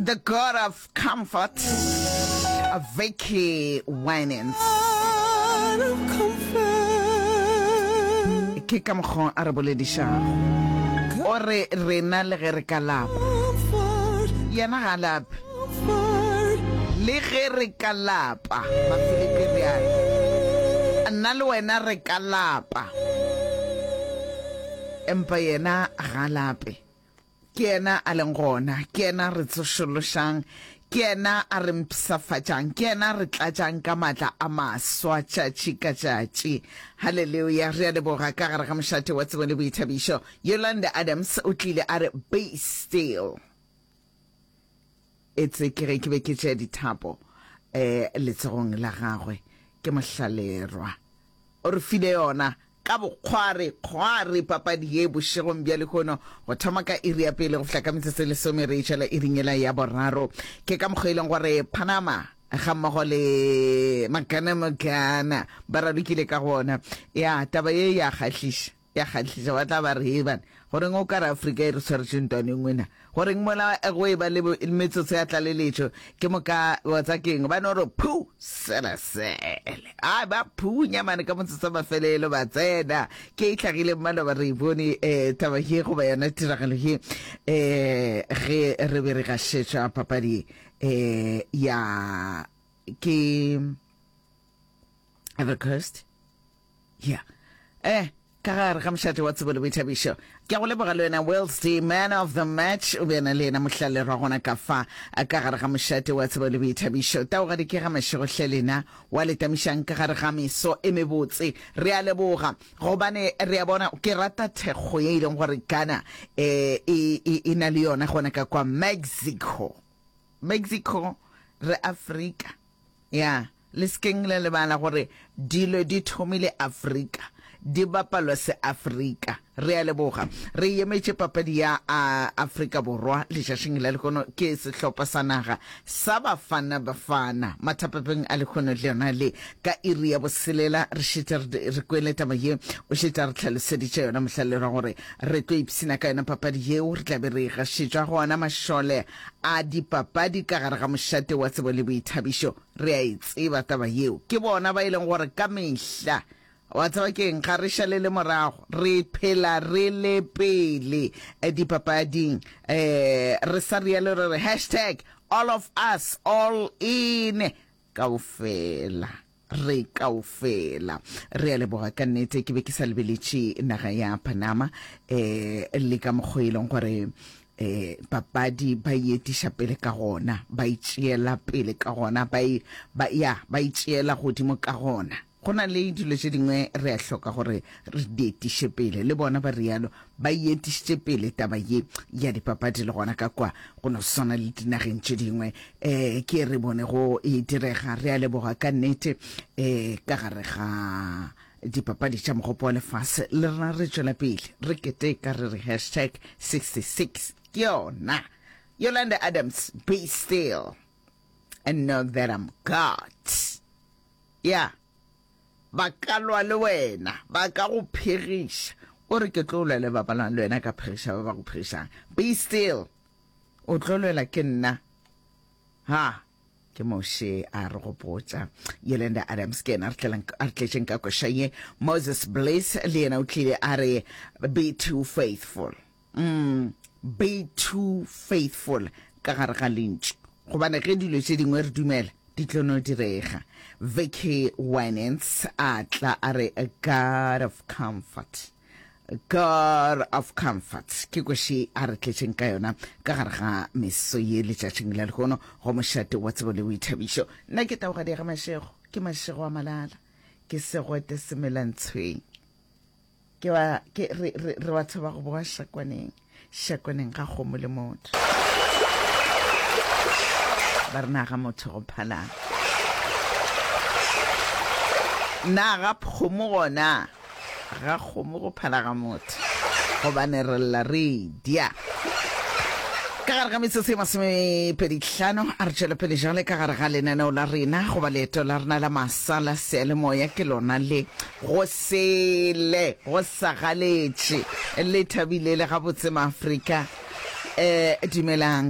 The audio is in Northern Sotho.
The God of Comfort, Vicky Winans. Ke ka mokgwa a re boledišago. O re rena le ge re ka lapa, yena ga a lape. Le ge re ka lapa, Bafilipi realo, nna le wena re ka lapa, empa yena ga a lape. Ke yena a leng gona, ke yena a re tsošološang, ke yena a re mpshafatšang, ke yena a re tlatšang ka maatla a maswa tšatši ka tšatši. Haleluya! Re a leboga ka gare ga mošate wa tsebo le boithabišo. Yolanda Adams o tlile a re, Be still. Etse ke ge ke be ke tšea dithapo um letsogong la gagwe, ke mohlalerwa. O re file yona ka bokgware kgware papadi ye bošegong bja lehono go thoma ka iri ya pele go fihla ka metsotso e lesome re e tšwela iring yela ya boraro. Ke ka mokgwa e leng gore Panama ga mmogo le Magana Magana ba ralokile ka gona. Ya taba ye ya kgahliša. Ya kgahliša, ba tla ba re, Hei bana, goreng o ka re Afrika e re swaretše ntwaneng wena? Goreng mola go e ba le metsotso ya tlaleletšo, ke moka wa tsa keng, ba no re phu, sele sele. A ba phunya mane ka motsotso wa mafelelo, ba tsena. Ke e hlagile maloba re e bone eh, taba ye goba yona tiragalo ye eh, ge re be re gašetša papadi eh, ya ke Ivory Coast. Ya. Eh, ka gare ga mošate wa tsebo le boithabišo. Ke a go leboga le wena Wills D, man of the match, o be a na le yena mohlalerwa gona ka fa ka gare ga mošate wa tsebo le boithabišo. Taogadi ke ga mašego hle lena wa le tamišang ka gare ga meso e mebotse. Re a leboga gobane re a bona ke rata thekgo ye e leng gore Ghana eh, e, e, e na le yona gona ka kwa Mexico. Mexico re Afrika. Ya. Le se keng la lebala gore dilo di thomile Afrika, di bapalwa se-Afrika. Re a leboga. Re emetše papadi ya Afrika Borwa letšatšing la lehono ke sehlopha sa naga sa Bafana Bafana. Mathapepeng a lehono le yona le ka iri ya boselela re šetše re kwele taba ye o šetše a re hlaloseditše yona mohlalelwa gore re tlo ipshina ka yona papadi yeo re tla be re e gašetšwa gona mašole a dipapadi ka gare ga mošate wa tsebo le boithabišo. Re a e tseba taba yeo. Ke bona ba e leng gore ka mehla, wa tseba ke'ng, ga re šalele morago, re phela re le pele dipapading. Re sa rialo re re hashtag all of us all in kaofela. Re kaofela re a leboga ka nnete. Ke be ke sa lebeletše naga ya Panama um le ka mokgwa e leng gore um papadi ba e etiša pele ka gona, ba e tšeela pele ka gona, ba e, ba, ya, ba e tšeela godimo ka gona. Go na le dilo tše dingwe re a hloka gore re di etiše pele, le bona ba rialo, ba e etišitše pele taba ye ya dipapadi le gona ka kwa go no swana le dinageng tše dingwe um ke re bone go e direga. Re a leboga ka nnete um ka gare ga dipapadi tša mogopo wa lefase le rena re tšwela pele re keteka re re hashtag 66 ke yona. Yolanda Adams, be still and know that I'm God. Yeah. Ba ka lwa le wena, ba ka go phegiša. O re, Ke tlo lwa le ba ba lwang le wena, ka phegiša ba ba go phegišang. Be still. O tlo lwela ke nna. Ha! Ke Moshe a re gopotša. Yolanda Adams ke yena a re tlelang, a re tletšeng ka koša ye. Moses Bliss le yena o tlile a re, Be too faithful. Mm, be too faithful ka gare ga lentšu. Gobane ge dilo tše dingwe re dumela, di tlo no direga. Vicky Winans a tla a re God of comfort. God of comfort ke kweši a re tletšeng ka yona ka gare ga meso ye letšatšing la lehono go mošate wa tsebo le boithabišo. Nna ke taogadi ga mašego, ke mašego a malala, ke segwete semelantshweng. Ke ba, ke, re, re, re batho ba go boa šakwaneng, šakwaneng ga kgomo le motho. Ba re na ga motho go phalang. Na ga kgomo gona, ga kgomo go phala ga motho, gobane re lla re dia. Ka gare ga metsotso e masomepedihlano, a re tšwele pele jale ka gare ga lenaneo la rena goba leeto la rena la masa la seyalemoya ke lona le. Go sele, go sa galetše, le thabile le gabotse Maafrika. Eh, dumelang.